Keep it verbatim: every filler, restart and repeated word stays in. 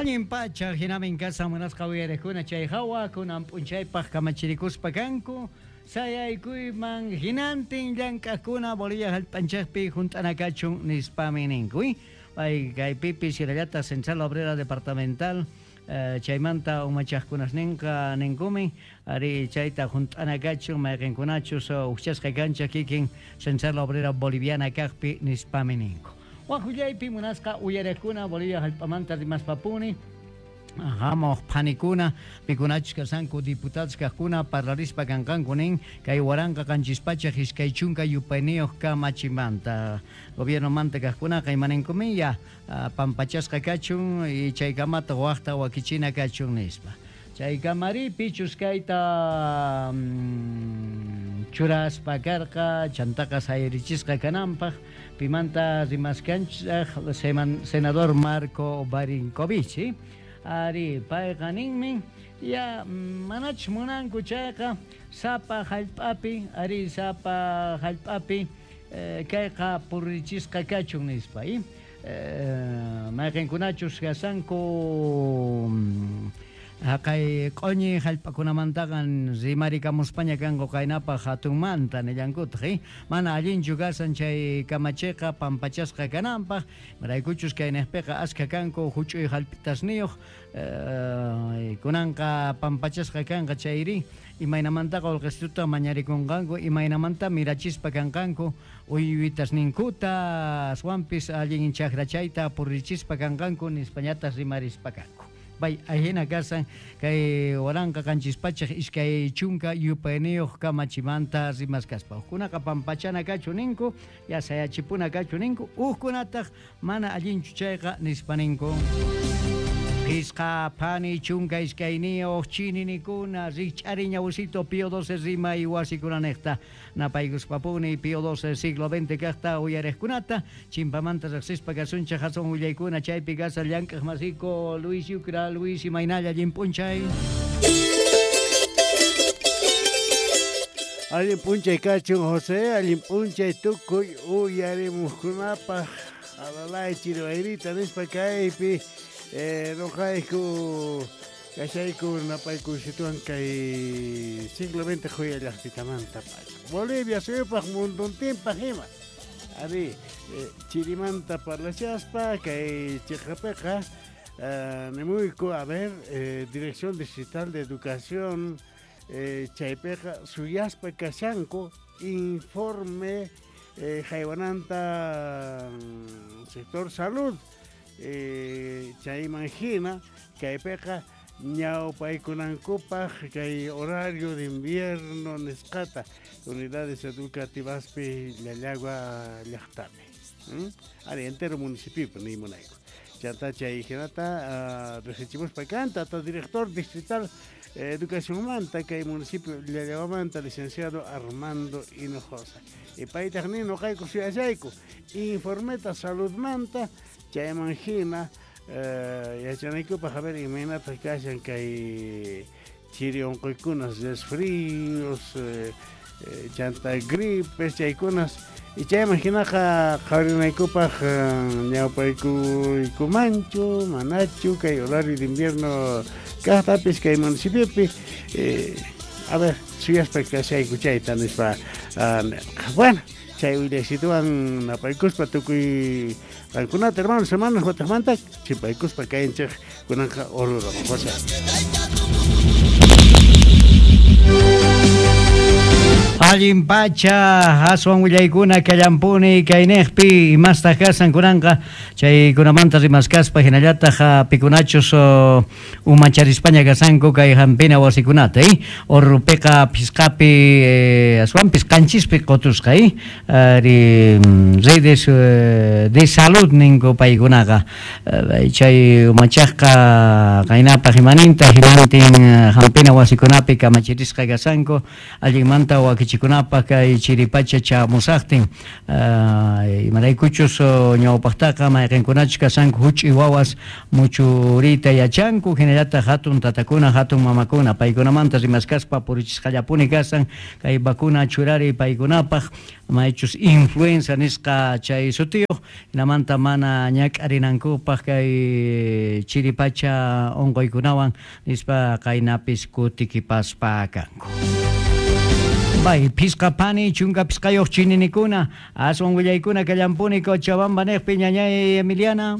Allin pacha hinamin kasa munasqa uyariqkuna chay hawa kunan p'unchaypaq kamachirikuspa kanku sayaykuyman hinantin llank'aqkuna Bolivia hallp'anchaqpi hunt'anakachun nispami ninku. Pay kaypipi hinallataq Central Obrera Departamental chaymanta umachaqkunasninqa ninkumin ari chayta hunt'anakachun mayqinkunachus uqchasqa kancha kikin Central Obrera Boliviana kaqpi nispami ninku. Waqhullaypi munasqa uyariqkuna Bolivia hallp'amanta rimaspapuni hamuq phanikuna pikunachus kasanku diputados kaqkuna parlarispa kanqanku nin kay waranqa qanchis pachak iskay chunka yupayniyuq kamachimanta gobiernomanta kaqkunaqa imaninkumin ya pampachasqa kachun y chaykamata waqta wakichina kachun nispa. Chay kamari pichus kayta churaspa karqa chantaqa sayarichisqa kananpaq pimanta rimaskanchaq senador Marco Barinkovich ari payqa ninmi ya manach munanku chayqa sapa hallp'api ari sapa hallp'api kayqa purichisqa kachun nispa y mayqinkunachus kasanku haqay q'uñi hallp'akunamantaqa rimarikamuspaña kanku qaynapaq hatunmanta nillankutaq mana allinchu kasan chay kamachiqa pampachasqa kananpaq maraykuchus kayniqpiqa askha kanku huch'uy hallp'itasniyuq kunanqa pampachasqa kanqa chayri imaynamantaqa qullqisituta mañarikunqanku imaynamanta mirachispa kanqanku uywitasninkuta aswanpis allin chakrachayta purichispa kanqanku nispañataq rimarispa kanku. Bay ahina kasan kay waranqa qanchis pachak iskay chunka yupayniyuq kamachimanta rimaskaspa hukkunaqa pampachana kachu ninku ya sayachipuna kachu ninku hukkunataq mana allinchu chayqa nispa ninku. Pisqa phani chunka iskayniyuq chininikuna rikch'ari ñawsito Pío doce rimay wasikunanejta napaykuspapuni Pío doce siglo veinte kaqta uyariqkunata chimpamanta riqsispa kasunchaq hatun willaykuna chaypi kasa llank'aq masiko Luis Yucra. Luis imaynalla allin p'unchay. Allin p'unchay kachun José, allin p'unchay tukuy uyarimuqkunapaq alalay chiriwayrita nispa kaypi Eh, noqayku kashayku napayku situan kay siglo veinte joya llaqtitamanta pacha Bolivia suyupaq munduntinpaq ima ari eh, chirimanta parlashaspa kay chiqapiqa eh, nimuyku a ver eh, Dirección Distrital de Educación eh, chaypiqa suyaspa kashanku informe eh, haywananta sector salud Eh, chayman hina kaypiqa ñawpaykunankupaq kay horario de invierno nisqata unidades educativaspi Llallagua llaqtapi ¿Mm? Ari entero municipio nimunayku chanta chay hinata uh, riqsichimuspa kanta tata director distrital eh, educacionmanta kay municipio Llallaguamanta licenciado Armando Hinojosa y paytaq nin noqayku suyashayku informeta saludmanta chayman hina eh, yachanaykupaq a ver imaynataq kashan kay chiri unquykunas resfríos eh, eh, chanta gripes chaykunas y chayman hinaqa qhawarinaykupaq ñawpaykuykumanchu manachu kay horario de invierno kaqtapis kay municipiopi eh, a ver suyaspa kashayku chayta nispa uh, bueno chay willasituwan napaykuspa tukuy qankunata hermanos hermanas wataqmanta chimpaykuspa kayanchik kunanqa Oruro José. Allin pacha aswan willaykuna kallampuni kayniqpi imastaq kasan kunanqa chaykunamanta rimaskaspa hinallataq pikunachus umacharispaña kasanku kay hampina wasikunata eh? Orrupiqa phisqapi eh, aswanpis qanchispi qutusqa eh? Ari redes eh, de salud ninku paykunaqa chay umachaqqa qaynapaq imaninta hinantin hampina wasikunapi kamachirisqa kasanku allinmanta wakichi Wakichikunapaq kay chiripacha chamusaqtin imaraykuchus ñawpaqtaqa mayqinkunachus kashanku huch'uy wawas muchuriyta yachanku hinallataq hatun tatakuna hatun mamakuna paykunamanta rimaskaspa purichisqallapuni kasan kay vacuna churariy paykunapaq maychus influenza nisqa chay sutiyuq hinamanta mana ñak'arinankupaq kay chiripacha unquykunawan nispa qaynapis kutikipaspa kanku. Bay, pisqa pani, chunka pisqayuq chininikuna, aswan willaykuna kallampuni Cochabamba niqpi ñañay Emiliana.